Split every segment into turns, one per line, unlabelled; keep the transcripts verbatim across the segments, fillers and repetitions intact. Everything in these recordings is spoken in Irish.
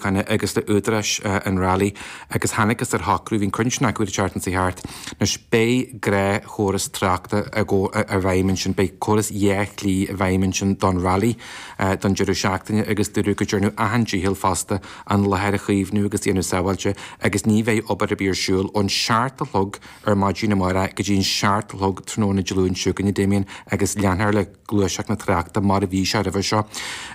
Síochána agus le údaráis an Rally agus thángthas ar shocrú, bhí an cruinniú sin acu an tseachtain seo thart. Anois beidh gnáthchóras tráchta i bhfeidhm ansin, beidh córas dhá shlí i bhfeidhm ansin don Rally don deireadh seachtaine agus dúradh go ndearnadh achan dícheall fosta an láthair a chaomhnú agus a dhéanamh sábháilte agus ní bheidh obair ar bith ar siúl ón seacht a chlog ar maidin amárach go dtí an seacht a chlog tráthnóna Dé Luain seo chugainn, a Damien, agus leanfar le gluaiseacht na tráchta mar a bhí sé roimhe seo.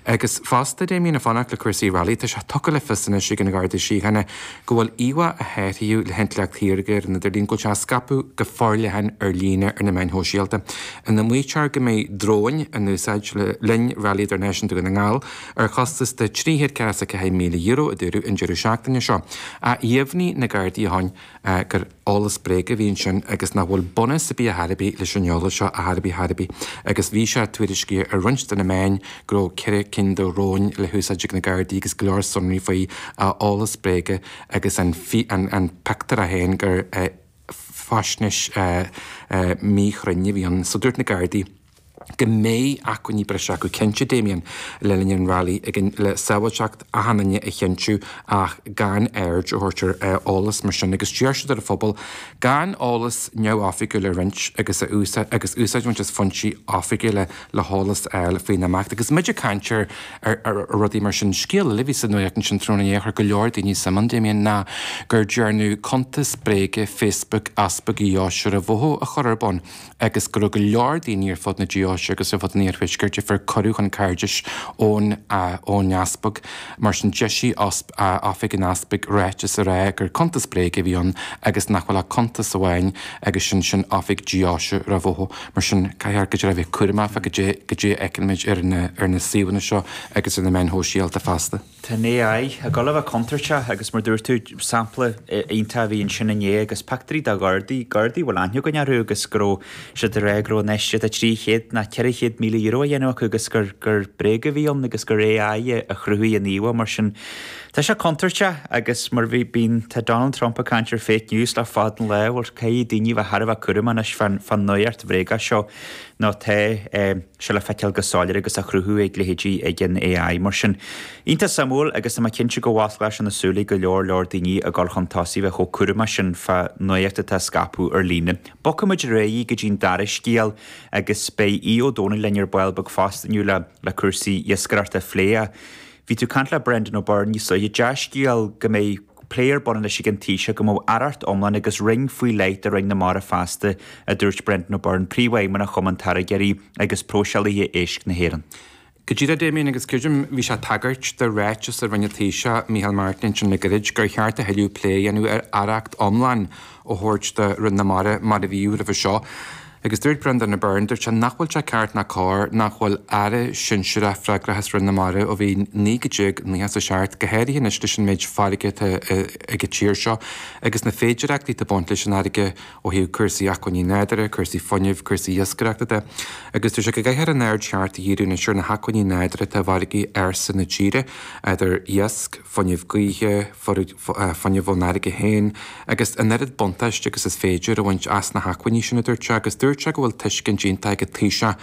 Agus fosta, Damien, ag fanacht le cúrsaí Rally, tá sé tugtha le fios anois ag an Gharda Síochána go bhfuil íomhá a shaothraíodh le hintleacht shaorga ar an idirlíon, go bhfuil sé á scaipeadh go forleathan ar líne ar na meáin shóisialta, ina maítear go mbeidh dróin in úsáid le linn Rally Idirnáisiúnta Dhún na nGall ar chostas de trí chéad ceathracha is a ceathair míle euro, a dúradh an deireadh seachtaine seo. Ach dheimhnigh na Gardaí ó shin gur eolas bréige a bhí ansin agus nach bhfuil bunús ar bith ar chor ar bith leis an eolas seo ar chor ar bith ar chor ar bith agus bhí sé tuairiscithe ar roinnt de na meáin go raibh ceithre cinn de dhróin le húsáid ag na Gardaí agus go leor sonraí faoi eolas bréige agus an an pictiúr é féin gur faisnéis míchruinn a bhí ann. So dúirt na Gardaí go mbeidh acmhainní breise acu cinnte, Damien, le linn an Rally ag le sábháilteacht achan duine a chinntiú ach gan aird a thabhairt ar eolas mar sin agus d'iarr siad ar an phobal gan eolas neamhoifigiúil a roinnt agus a úsáid agus úsáid a bhaint as foinsí oifigiúla le heolas a fháil faoin imeacht. Agus muid ag caint ar ar rudaí mar sin, scéal eile a bhí sa nuacht ansin tráthnóna inné a chuir go leor daoine suim ann, Damien, ná gur dearnadh cuntas bréige Facebook Easpag Dheoise Ráth Bhoth a chur ar bun agus go raibh go leor daoine ar fud na deoise agus ar fud an iarthuaiscirt a fuair cuireadh chun cairdis ón ón easpag. Mar sin d'eisigh oifig an easpaig ráiteas a rá gur cuntas bréige a bhí ann agus nach bhfuil ach cuntas amháin agus sin sin oifig deoise Ráth Bhoth. Mar sin caithfear go deimhin a bheith cúramach fá goidé goidé a fheiceann ar na ar na suíomhanna seo agus ar na meáin shóisialta feasta.
Tá an AI ag dul a bheith contúirteach agus mar dúirt tú, sampla iontach a bhí ansin inné agus pictiúirí de Ghardaí, Gardaí a bhfuil aithne againn orthu agus go raibh siad ag rá go raibh infheistíocht de trí chéad ná ceithre chéad míle euro á dhéanamh acu agus gur gur bréag a bhí ann agus gur AI a chruthaigh an íomhá mar sin. Tá sé contúirteach agus mar bhí bíonn tá Donald Trump ag caint ar fake news le fada an lá, bhuel caithfidh daoine a bheith thar a bheith cúramach anois fán fán nuacht bhréagach seo nó tá sé le feiceáil go soiléir agus á chruthú ag leithéidí ag an AI mar sin. Iontach suimiúil agus tá mé cinnte go bhfosclóidh sé na súile go leor leor daoine ag dul chun tosaigh bheith chomh cúramach sin fá nuacht atá á scaipeadh ar líne. Bogfaimid ar aghaidh go dtí an dara scéal agus beidh Aodh Ó Domhnaill linn ar ball beag fosta inniu le le cúrsaí iascaireachta a phlé. Bhí tú ag caint le Brendan O'Byrne níos luaithe. Dea-scéal go mbeidh plé ar bun anois ag an Taoiseach go mbeadh aireacht iomlán agus roinn faoi leith do Roinn na Mara feasta, a dúirt Brendan O'Byrne, Príomhfheidhmeannach Chumann Táirgeoirí agus Próiseálaithe Éisc na hÉireann.
Go díreach, Damien, agus creidim, bhí sé ag tagairt do ráiteas a rinne an Taoiseach, Micheál Martin, ansin le gairid, gur cheart a thuilleadh plé a dhéanamh ar aireacht iomlán a thabhairt do Roinn na Mara mar a bhíodh roimhe seo. Agus dúirt Brendan O'Byrne, dúirt sé nach bhfuil sé ceart ná cóir nach bhfuil aire sinsearach freagrach as Roinn na Mara ó bhí naoi déag nócha a seacht, go háirithe anois leis an méid farraige atá ag an tír seo agus na féidireachtaí atá ag baint leis an fharraige ó thaobh cúrsaí acmhainní nádúrtha, cúrsaí fuinnimh, cúrsaí iascaireachta de. Agus dúirt sé go gcaithfear an aird cheart a dhíriú anois ar na hacmhainní nádúrtha atá i bhfarraigí ársa na tíre, idir iasc, fuinneamh gaoithe, fuinneamh ón fharraige féin, agus an oiread buntáiste agus is féidir a bhaint as na hacmhainní sin, a dúirt sé, agus dúirt sé go bhfuil tuiscint iontach ag an Taoiseach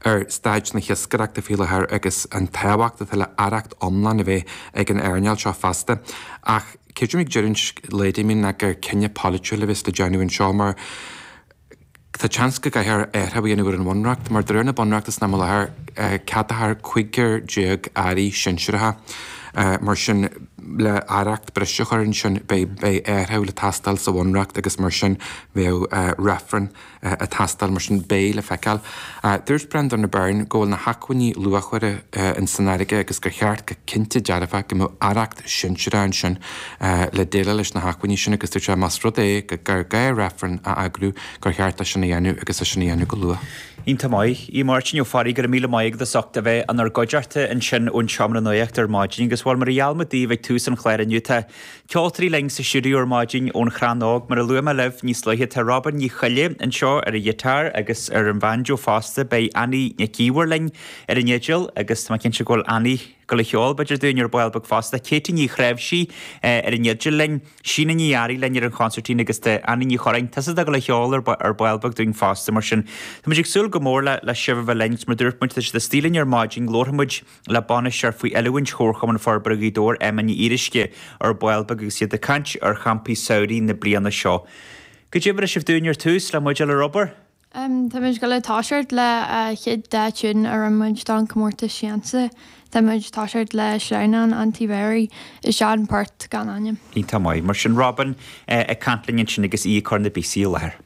ar staid na hiascaireachta faoi láthair agus an tábhacht atá le aireacht iomlán a bheith ag an earnáil seo feasta. Ach creidim ag deireadh an lae, Damien, ná gur cinneadh polaitiúil a bheas le déanamh anseo mar tá seans go gcaithfear athrú a dhéanamh ar an bhunreacht, mar de réir na bunreachta san am i láthair, ceadófar cúigear déag airí sinsearacha. Mar sin, le aireacht breise a chur ansin, beidh athrú le teastáil sa bhunreacht agus mar sin bheadh reifreann ag teastáil. Mar sin, beidh le feiceáil. Dúirt Brendan O'Byrne go bhfuil na hacmhainní luachmhara in san fharraige agus gur cheart go cinnte dearfach go mbeadh aireacht sinsearach ansin le déileáil leis na hacmhainní sin agus dúirt sé más rud é gur gá reifreann a eagrú gur cheart é sin a dhéanamh agus é sin a dhéanamh go luath.
Iontach maith. A Mháirtín Ó Fearraigh, go raibh míle maith agat as ucht a bheith inár gcuideachta ansin ón seomra nuachta ar maidin agus bhuel mar a gheall muid daoibh ag tús an chláir inniu tá ceoltóirí linn sa stiúideo ar maidin ón Chrann Óg. Mar a luaigh mé libh níos luaithe tá Robin Ní Choille anseo ar an ghiotár agus ar an bhanjo fosta. Beidh Annie Nic Íomhair linn ar an fhidil agus tá mé cinnte go bhfuil Annie dul a cheol b'fhéidir dúinn ar ball beag fosta. Katie Ní Chreimhsí ar an fhidil linn, Síne Ní Fhearraigh linn ar an chonsairtín agus tá Annie Ní Churráin, tusa atá ag dul a cheol ar ball beag dúinn fosta mar sin tá muid ag súil go mór le le sibh a bheith linn agus mar dúirt muid tá siad istigh linn ar maidin, labharfaidh muid le bainisteoir faoi oiliúint Chomharchumann Forbartha Ghaoth Dobhair, Emma Ní Fhíoruisce ar ball beag agus iad ag caint ar champaí samhraidh na bliana seo. Goidé a bhris sibh dúinn ar tús le muid a dhul ar obair?
Tá muid ag dul a toiseacht le chéad dá tiún a rinne muid don comórtas Siansa. Tá muid ag toiseacht le Sleamhnán an Tí Bhéaraí is Sean Port gan ainm.
Iontach maith. Mar sin Robin ag caint linn ansin agus í ag cur na bpíosaí i láthair.